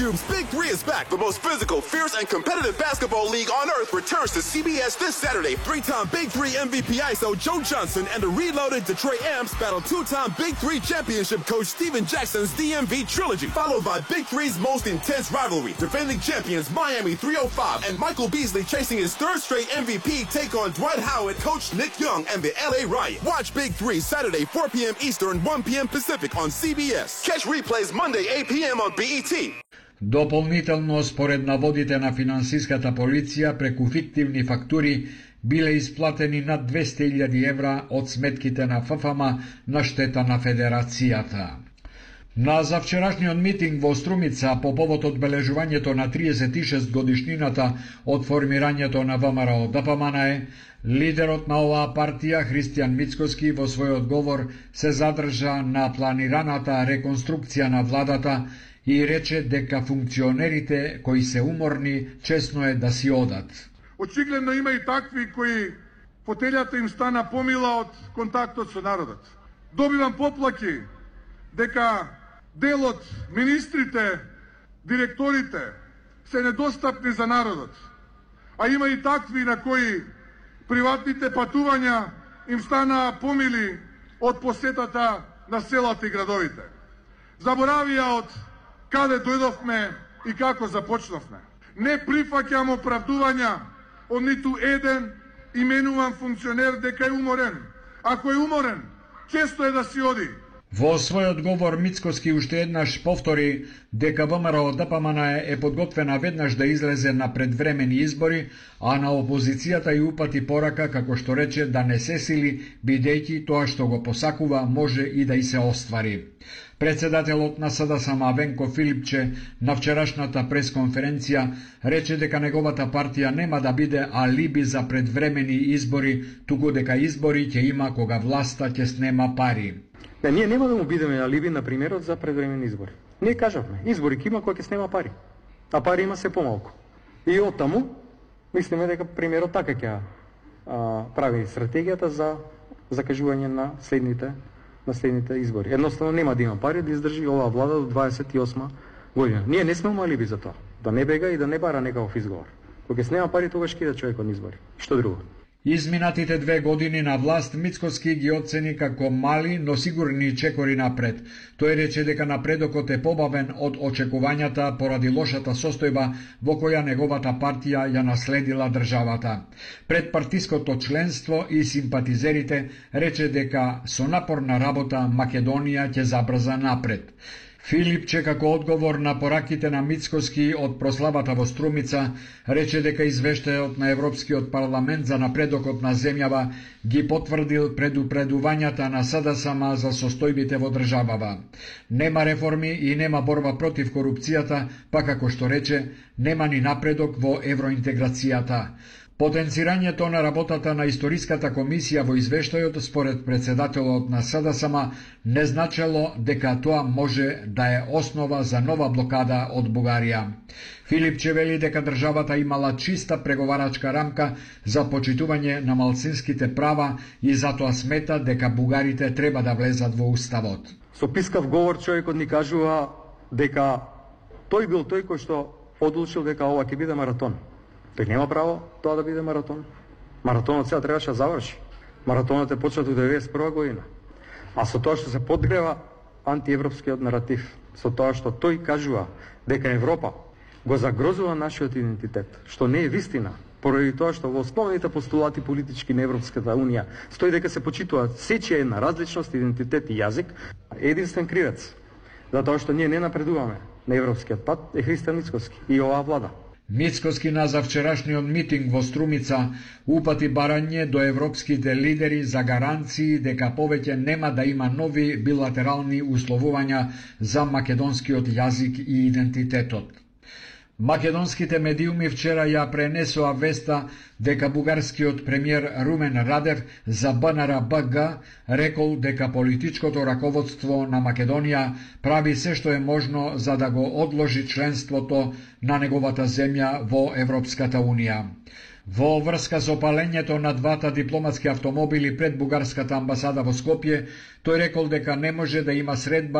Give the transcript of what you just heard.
Cube's Big Three is back. The most physical, fierce, and competitive basketball league on earth returns to CBS this Saturday. Three-time Big Three MVP ISO Joe Johnson and the reloaded Detroit Amps battle two-time Big Three championship coach Steven Jackson's DMV trilogy, followed by Big Three's most intense rivalry. Defending champions Miami 305 and Michael Beasley chasing his third straight MVP take on Dwight Howard, coach Nick Young, and the LA Riot. Watch Big Three Saturday 4 p.m. Eastern, 1 p.m. Pacific on CBS. Catch replays Monday 8 p.m. on BET. Дополнително, според наводите на финансиската полиција, преку фиктивни фактури биле исплатени над 200.000 евра од сметките на ФФМ на штета на Федерацијата. На завчерашниот митинг во Струмица по повод одбележувањето на 36 годишнината од формирањето на ВМРО ДПМН, лидерот на оваа партија Христијан Мицкоски во својот говор се задржа на планираната реконструкција на владата и рече дека функционерите кои се уморни чесно е да си одат. Очигледно има и такви кои фотелјата им стана помила од контактот со народот. Добивам поплаки дека дел од министрите, директорите се недостапни за народот. А има и такви на кои приватните патувања им стана помили од посетата на селата и градовите. Заборавија од каде дојдовме и како започнавме. Не прифаќам оправдувања од ниту еден именуван функционер дека е уморен. Ако е уморен, често е да си оди. Во својот говор Мицкоски уште еднаш повтори дека ВМРО ДПМН е подготвена веднаш да излезе на предвремени избори, а на опозицијата и упати порака, како што рече, да не се сили, бидејќи тоа што го посакува може и да и се оствари. Председателот на СДСМ Венко Филипче на вчерашната пресконференција рече дека неговата партија нема да биде алиби за предвремени избори, туку дека избори ќе има кога власта ќе снема пари. Да, ние нема да му бидеме алиби на примерот за предвремени избори. Ние кажавме, избори ќе има кога ќе снема пари, а пари има се помалку. И оттаму, мислиме дека примерот така ќе прави стратегијата за закажување на следните избори. Едноставно нема да има пари да издржи оваа влада до 28 година. Ние не сме алиби за тоа. Да не бега и да не бара некаков изговор. Кога ќе снема пари, тогаш ќе иде човек од избори. Што друго? Изминатите 2 години на власт Мицкоски ги оцени како мали, но сигурни чекори напред. Тој рече дека напредокот е побавен од очекувањата поради лошата состојба во која неговата партија ја наследила државата. Пред партиското членство и симпатизерите рече дека со напорна работа Македонија ќе забрза напред. Филипче, како одговор на пораките на Мицкоски од прославата во Струмица, рече дека извештајот на Европскиот парламент за напредокот на земјава ги потврдил предупредувањата на СДСМ за состојбите во државава. Нема реформи и нема борба против корупцијата, па како што рече, нема ни напредок во евроинтеграцијата. Потенцирањето на работата на историската комисија во извештајот според председателот на СДСМ не значело дека тоа може да е основа за нова блокада од Бугарија. Филипче вели дека државата имала чиста преговарачка рамка за почитување на малцинските права и затоа смета дека бугарите треба да влезат во уставот. Со пискав говор човекот ни кажува дека тој бил тој кој што одлучил дека ова ќе биде маратон. Тој нема право тоа да биде маратон. Маратонот сега требаше да заврши. Маратонот е почнат во 1991 година. А со тоа што се подгрева антиевропскиот наратив, со тоа што тој кажува дека Европа го загрозува нашиот идентитет, што не е вистина, поради тоа што во основните постулати политички на Европската унија стои дека се почитуваат сечија на различност, идентитет и јазик, единствен кривец за тоа што ние не напредуваме на европскиот пат е Христијан Мицкоски и оваа влада. Мицкоски на завчерашниот митинг во Струмица упати барање до европските лидери за гаранции дека повеќе нема да има нови билатерални условувања за македонскиот јазик и идентитетот. Македонските медиуми вчера ја пренесоа веста дека бугарскиот премиер Румен Радев за БНР БГ рекол дека политичкото раководство на Македонија прави се што е можно за да го одложи членството на неговата земја во Европската Унија. Во врска со палењето на двата дипломатски автомобили пред бугарската амбасада во Скопје, тој рекол дека не може да има средба